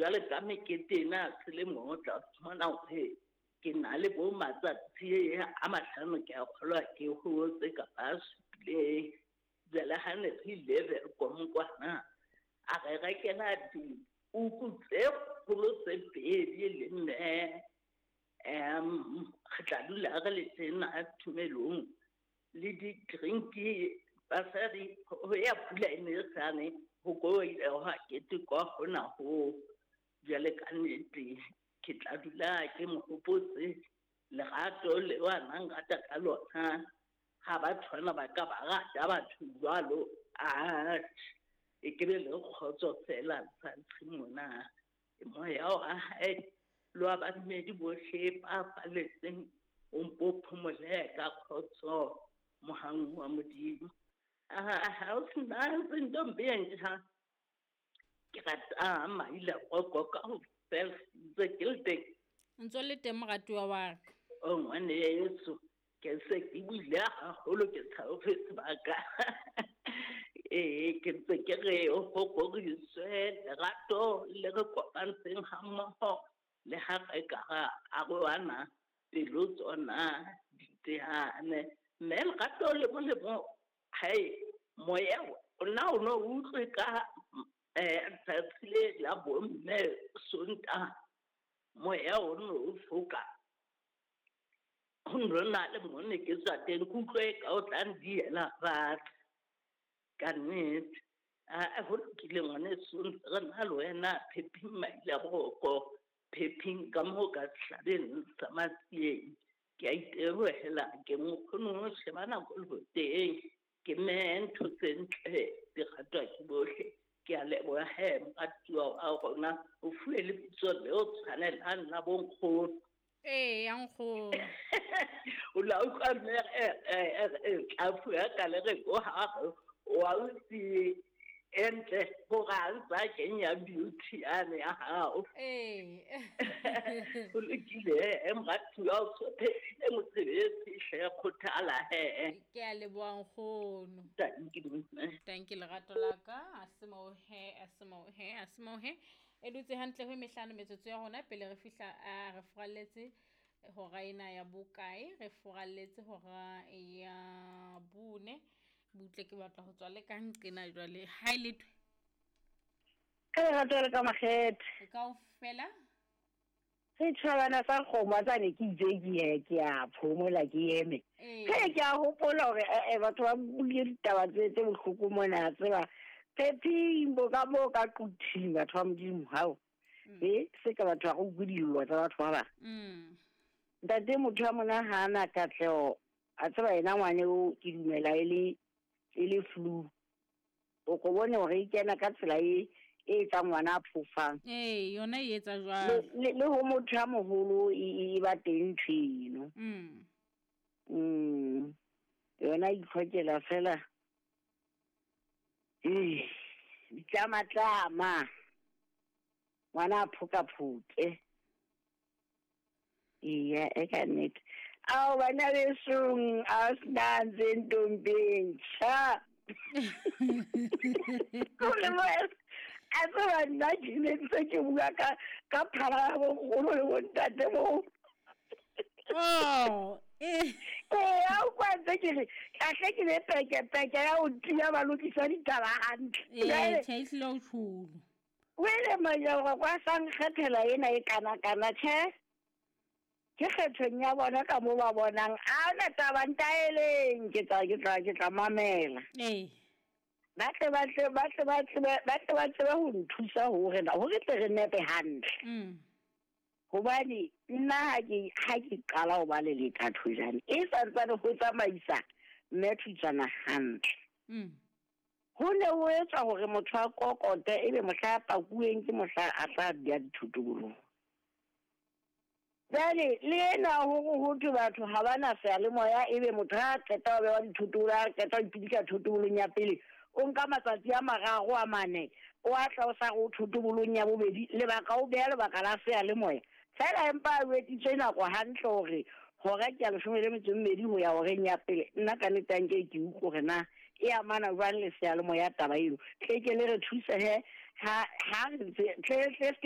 Jwale ka mekete ena ya selemo o tla fumana hore ke na le bo matsatsi a 5 ke a kgolwa ke hotse kapa a supileng. Jwale ha ne re ile Welkom kwana, a re rekela dikuku tse kgolo tse pedi le mme. Re tla dula re le tena tumelong le di-drink basadi ho ya pula e ne e sane ho ko ile hwa ketekwa hona ho. Jwale ka nnete ke tla dula ke mo hopotse lerato leo a nang rata ka lona. Ha batho bana ba ka ba rata batho jwalo, atjhe e ke be le kgotso fela lefatsheng mona. Moya wa hae le wa badumedi bohle ba falletseng o mpo phomole ka kgotso mohang wa Modimo. Ha o sena ntombi e ntjha, ke rata maila roko ka ho fela ntse ke le teng. Ntso le teng moratuwa wa ka. O ngwaneso, ke se ke buile haholo ke tshaofe sebaka. Ee, ke ntse ke re ho roriswe lerato le re kopantseng hammoho le ha re ka ra arohana pelo tsona di teane. Mme lerato le molemo hae moya ona o no utlwe ka tsatsi le la bomme Sontaha, moya o no o foka. Ho no na le mo ne ke tswa teng, ke utlwe ka o tla ndiela fatshe. Ka nnete. A ho lokile ngwaneso, ntse re na le wena Phephing Mailaboroko, Phephing ka moo ka sehlabeng sa Matsieng. Ke a itebohela, ke nkgono sheba nako le boteng. Ke mme ntho tse ntle di ratwa ke bohle. Ke a leboha he moratuwa wa rona, o fuwe lebitso leo tshwanelang la bonkgono. Ee, ya nkgono. O la utlwa mme tla fuwa ka le re ko ha wa utsi entle hore ha ntsa kenya beauty yane ya hao. Ee. O lokile he moratuwa, o so phethile mosebetsi hle, kgothala he. Ke a leboha nkgono. Thank you, mme. Thank you lerato la ka. A se moo he, a se moo he, a se moo he. E dutse hantle ho mehlano metsotso ya rona pele re fihla, a re furalletse hora ena ya bokae, re furalletse hora ya bone. Butle ke batla ho tswa le ka nqena jwale. Ha e lethwe. Ka lerato le ka makgethe. E kaofela. Setjhabana sa kgomo a tsane ke itse ke ye, ke a phomola ke eme. Ee. Ke ke a hopola hore, batho ba buile ditaba tse bohloko mona, a tseba. Phephing bo ka moo ka quthing batho ba Modimo, hao. Se ka batho ba go utlwe dillo tsa batho ba bang. Ntate motho wa mona ha ana katleho, a tseba yena ngwane o ke dumela e le flu. O ko bone hore e kena ka tsela e etsang ngwana a phofang. Ee, yona e etsa jwalo. Le ho motho ya moholo e ba teng ntho eno. Yona e itlhokela fela. Ee, ditlamatlama. Ngwana a phokaphoke. Eya, e ka nnete. Ao, bana besong, a se ntombi e ntjha. Kore mo, a tseba nna ke ne ntse ke bua ka phala ya bonkgono le bontate moo. Oh, eh. Ee, a utlwa ntse ke re, kahle ke be peke-peke ya ho tiya ba lokisa ditaba hantle. Ee, Jwale tjhe, ehlile o tjholo. O ile manyalo kwa sa nkgethela ena e kana-kana, tjhe. Ke kgethong ya bona ka moo ba bonang. A hona taba ntaeleng, ke tla mamela. Ee. Ba tle ba tle, ba tle ba tsebe, ba tle ba tsebe ho nthusa hore na, hore tle re nepe hantle. Hobane nna ha ke qala ho ba le lethatho jane, e santsane ho tsamaisa mme Thutswana hantle. Ho ne ho etswa hore motho a kokote ebe mohla a pakuweng ke mohla a tla beha dithotobolong. Jwale le ena hore ho thwe batho ha ba na seyalemoya, ebe motho ha a qeta ho bewa dithotobolo, ha a qeta ho ipidika thotobolong ya pele, o nka matsatsi a mararo a mane, o a tla o sa re o thotobolong ya bobedi, lebaka o beha lebaka la seyalemoya. Fela empa a wetitswe nako hantle hore hora ke ya leshome le metso e mmedi ho ya horeng ya pele. Nna ka nnete ha nke ke utlwe hore na e amana jwang le seyalemoya taba eno. Tle ke le re thuse he, ha re ntse, tle, tle se